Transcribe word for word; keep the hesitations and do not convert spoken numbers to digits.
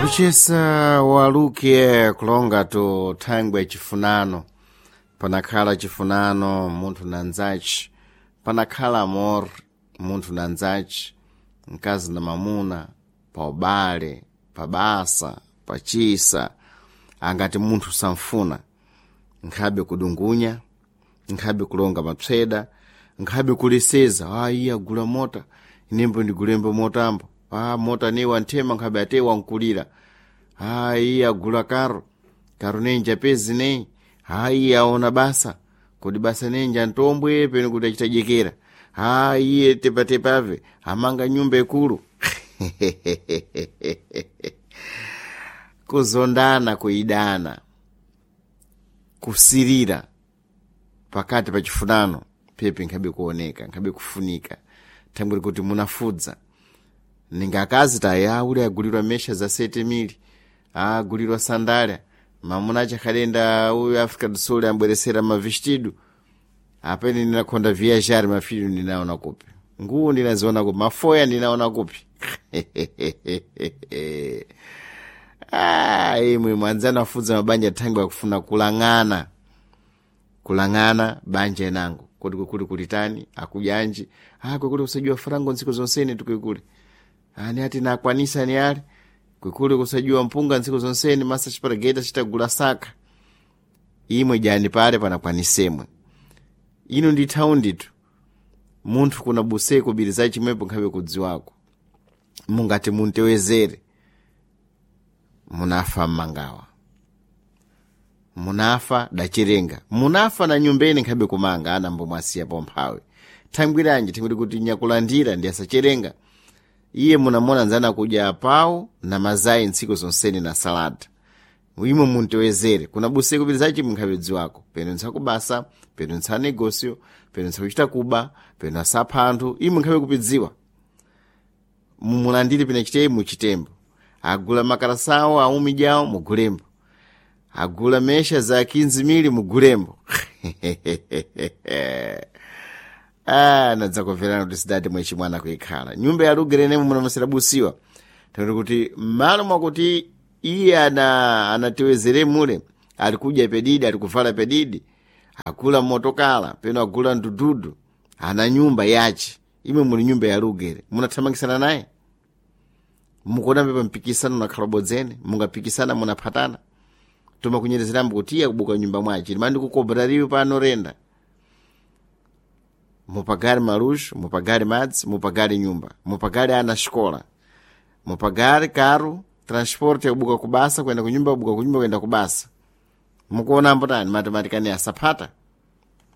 Kuchesa waluke kulonga to thangwe chifunano panakhala chifunano munthu na nzachi panakhala amor munthu na nzachi mkazi na mamuna pa ubale pa basa pa chisa angati munthu samfuna nkhabe kudungunya nkhabe kulonga mapseda nkhabe kuleseza ah iye agula mota inembo ndigulembo motambo ah mota ne wanthema nkhabe ate wankulira ah iye agula karo karo nenja pezi nei ah iye aona basa kodi basa nenja ntombwe peno kuti achitajekera ah iye tepatepave amanga nyumba ikulu kuzondana kuidana kusirira pakati pa chifunano pepe nkhabe kuoneka nkhabe kufunika thangwe kuti munafudza ninga akazi taya uli agulirwa mesha za sete mili agulirwa sandalia mamuna achakhalenda uyu Africa do Sul ambweresera mavestido apene ndinakhonda viajar mafilho ndinaona kupi nguwo ndinaziona kupi mafoya ndinaona kupi ah, imwe mwanzanu afudza mabanja thangwe akufuna kulang'ana kulang'ana banja inango kodi kwekuli kulitani akujanji ah kwekuli kusajua frango ntsiku zonsene tukwekuli ani ati nakwanisa ni ali kwekuli kusajua mpunga ntsiku zonsene masa chiparageta chitagula saka imwe jani pale panakwanisemwe ino ndi thaundi munthu kuna buseko biri za chimwepo nkhabe kudziwako mungati muntewezere munafa mmangawa munafa dachirenga munafa na nyumbeni nkhabe kumanga ana mbomwasiya pomphawi thangwiranji thangwiri kuti nyakulandira ndi asacherenga iye munamona nzana kudya pawu na mazayi ntsiku zonsene na salada imwe muntewezere kuna busiku pili zachi munkhabe dziwako peno ntsakubasa peno ntsanegosio peno ntsakuchita kuba peno asapha anthu imwe nkhabe kupidziwa mumulandire pina chiteyi muchitembo agula makarasawo aumijawo mugulembo agula mesha za quinze mili mugulembo ah nadzakumverani kuti sidati mwechi mwana kuikhala nyumba ya lugerenemo munamasera busiwa takuti kuti mmalo mwakuti iye ana anatiwezere mule ali kudya pedidi ali kuvala pedidi agula motokala peno agula ndududu ana nyumba yachi imwe muli nyumba ya lugere munathamangisana naye mukuona pepa mpikisano nakhala bodzene mungapikisana munaphatana toma kunyerezerambo kuti iye akubuka nyumba mwachi limandi kukobrariwe pano renda mupagare maluxo mupagare madzi mupagare nyumba mupagare ana xikola mupagare karo transporte yakubuka kubasa kuenda kunyumba kubuka kunyumba kuenda kubasa mukuonambo tani matematikani asaphata